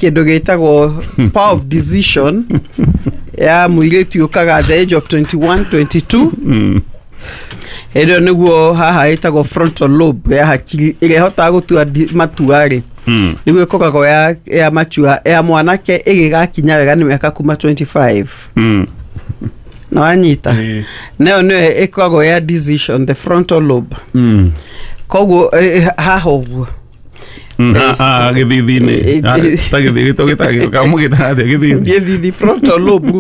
Kĩndũ gĩtagwo power of decision ya mũirĩtu yũkaga at the age of 21 22. Hĩndĩ ĩyo nĩguo haha ĩtagwo frontal lobe ya hakiri ĩrĩa ĩhotaga gũtua matua rĩ, nĩguo ĩkoragwo ya matua. Ya mwanake ĩgĩgakinya wega nĩ mĩaka kuma 25. Na wanyita? Ĩĩ. Nayo nĩyo ĩkoragwo ya decision, the frontal lobe. Koguo haha ũguo. Gĩthithi-inĩ. Ta gĩthithi kamũgĩtaga atĩa gĩthithi? Gĩthithi, frontal lobe,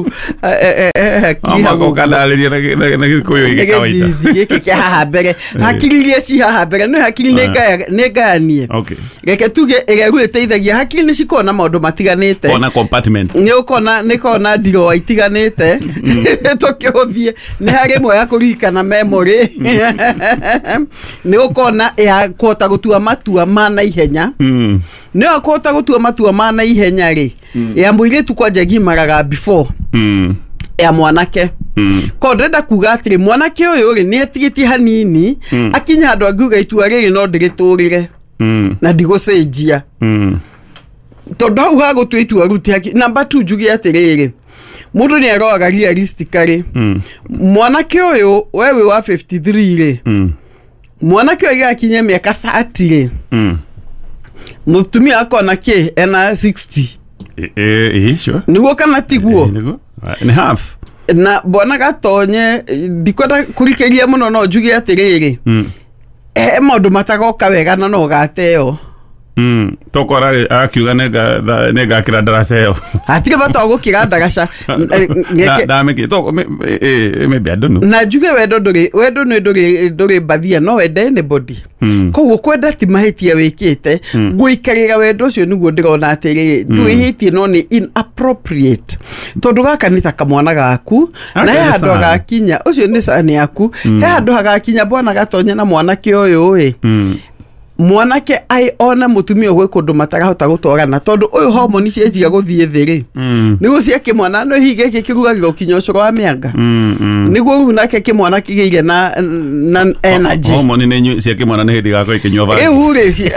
hakiri hau Omaka ũguo. ũkandarĩria na Gĩkũyũ Nĩ gĩ kawaida. Gĩthithi gĩkĩ kĩa haha mbere, hakiri iria ci haha mbere nĩ hakiri nĩ nĩ ngayanie. Reke tuge ĩrĩa rĩu ĩteithagia, hakiri nĩ cikoragwo na maũndũ matiganĩte. Ona compartments. Nĩ ũkona nĩ kona ndiroo itiganĩte tũkĩhũthie. Nĩ harĩ ĩmwe ya kũririkana, memory, nĩ ũkona ya kũhota gũtua matua ma naihenya. Nĩyo kũhota gũtua matua ma naihenya rĩ, ya mũirĩtu kwanja gimaraga before ya mwanake. Ko ndĩrenda kuga atĩrĩ, mwanake ũyũ rĩ, nĩ atigĩtie hanini akinya handũ angiuga itua rĩrĩ no ndĩrĩtũrĩre na ndigũcenjia, tondũ hau hagũtua itua rĩu ti haki. Namba tu njuge atĩrĩrĩ, mũndũ nĩ aroraga realistically. Mwanake ũyũ, we wĩ wa 53 rĩ, mwanake ũyũ gĩgakinya mĩaka 30 rĩ, mũtumia akona kĩ ena 60. Ĩ, sure. Nĩguo kana tiguo? Nĩguo. Nĩ half. Na bwana Gatonye, ndikwenda kũrikĩria mũno, no njuge atĩrĩrĩ, he maũndũ matagoka wega na no gateo. Tokorwo arakiuga nĩngakĩra ndaraca ĩyo. Hatirĩ bata wa gũkĩra ndagaca. Ndamĩkĩ maybe, I don't know. Na njuge wendo ndũrĩ, wendo nĩ ndũrĩ mbathia, no wende anybody. Koguo kwenda ti mahĩtia wĩkĩte. Gũikarĩra wendo ũcio nĩguo ndĩrona atĩrĩrĩ, ndwĩhĩtie no nĩ inappropriate, tondũ gaka nĩ ta kamwana gaku Gaka na he nĩ handũ cani. hagakinya, ũcio nĩ cani yaku, he handũ hagakinya, bwana Gatonye na mwanake ũyũ ĩ, mwanake ai ona mũtumia gwĩ kũndũ matarahota gũtwarana, tondũ ũyũ homoni cianjia gũthiĩ thĩ rĩ, nĩguo cia kĩmwana no hihi gĩkĩ kĩrugagĩrwo kinya ũcũrũ wa mĩanga. Nĩguo rĩu nake kĩmwana kĩgĩire na energy. Homoni nĩ cia kĩmwana nĩ hĩndĩ igakorwo ikĩnyua bangi. Rĩu rĩ,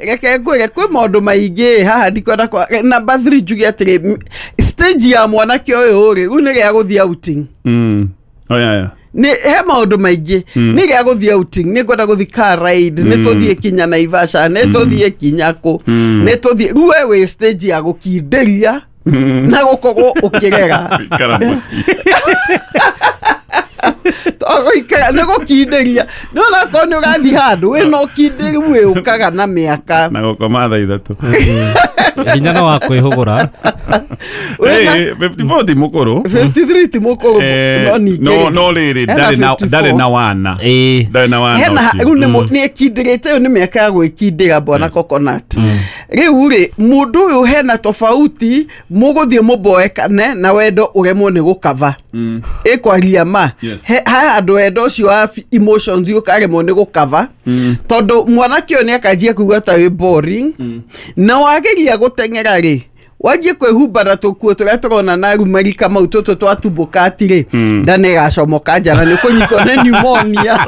reke ngwĩre kwĩ maũndũ maingĩ haha ndikwenda kwa. Number 3, njuge atĩrĩ, stage ya mwanake ũyũ rĩ, rĩu nĩ rĩa gũthiĩ outing. Oh, yeah. Nĩ he maũndũ maingĩ, nĩ rĩa gũthiĩ outing, nĩ ngwenda gũthiĩ car ride, nĩ tũthiĩ kinya Naivasha, nĩ tũthiĩ kinya kũ, nĩ tũthiĩ. Rĩu we wĩ stage ya gũkindĩria na gũkorwo ũkĩrera. Ikara mũciĩ. Togũikara nĩ gũkindĩria, nĩ onakorwo nĩ ũrathiĩ handũ wĩna ũkindĩru wĩũkaga na mĩaka. Na gũkoma thaa 3. Hinya no wa kwĩhũgũra. Hey, 54 ti mũkũrũ. 53 ti mũkũrũ. No ningĩ No rĩ, no rĩrĩ, hena ndarĩ 54. na wana. Ndarĩ na wana Hena ũcio. rĩu nĩ ekindĩrĩte, ĩyo nĩ mĩaka ya gwĩkindĩra, bwana Coconut. Rĩu rĩ, mũndũ ũyũ hena tofauti mũgũthiĩ mũboekane na wendo ũremwo nĩ gũkava ĩkwaria ma. He handũ wendo ũcio wa emotions ũkaremwo nĩ gũkava, tondũ mwanake ũyũ nĩ akanjia kuigua ta wĩ boring, na wageria gũteng'era rĩ, wanjie kwĩhumba na tũkuo tũrĩa tũrona na rumarika mau tũtũ twatumbũkati rĩ, nda nĩ ĩgacomoka nja na nĩ ũkũnyitwo nĩ pneumonia.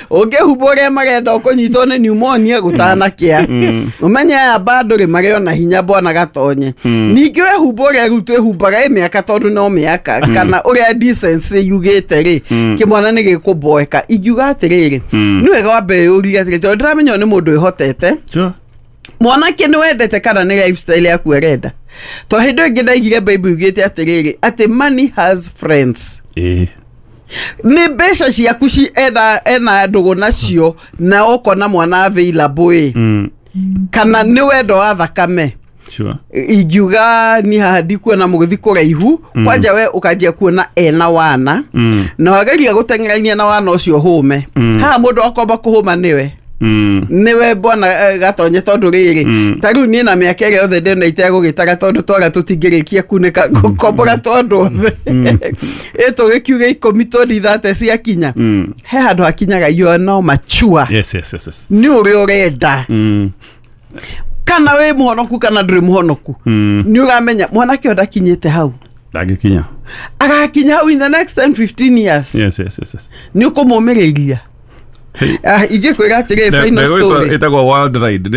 Ũngĩhumba ũrĩa marenda, ũkũnyitwo nĩ pneumonia gũtanakĩa. Ũmenye aya bado rĩ, marĩ ona hinya, bwana Gatonye. Ningĩ wehumba ũrĩa rĩu twĩhumbaga ĩ mĩaka, tondũ no mĩaka kana ũrĩa decency yugĩte rĩ, kĩmwana nĩ gĩkũboeka. Ingiuga atĩrĩrĩ, nĩ wega wambe wĩyũrie atĩrĩ, tondũ ndĩramenya ũyũ nĩ mũndũ wĩhotete. Mwanake nĩ wendete kana nĩ lifestyle yaku arenda? To hĩndĩ ĩngĩ ndaigire Bible yugĩte atĩrĩrĩ, atĩ money has friends. Nĩ mbeca ciaku ci ena ndũgũ nacio na ũkona mwana available ĩ, kana nĩ wendo wa thakame? Ingiuga ni haha ndikuona mũgĩthi kũraihu. Kwanja we ũkanjia kuona ena wana, na wageria gũteng'erania na wana ũcio hũme. Haha mũndũ akomba kũhũma nĩwe, nĩwe bwana Gatonye, tondũ rĩrĩ, ta rĩu niĩ na mĩaka ĩrĩa yothe ndĩna itegũgĩtara, tondũ twara tũtingĩrĩkia kunĩka gũkombora tondũ othe ĩ tũgĩkiuga 10 20 30 ciakinya, he handũ hakinyaga you are now mature. Nĩ ũrĩa ũrenda, kana wĩ mũhonoku kana ndũrĩ mũhonoku, nĩ ũramenya mwanake ũyũ ndakinyĩte hau. Ndangĩkinya. Agakinya hau in the next 10 15 years. Nĩ ũkũmũmĩrĩria. Hey. Ah, ingĩkwĩra atĩrĩ, final story. Ĩtagwo wild ride.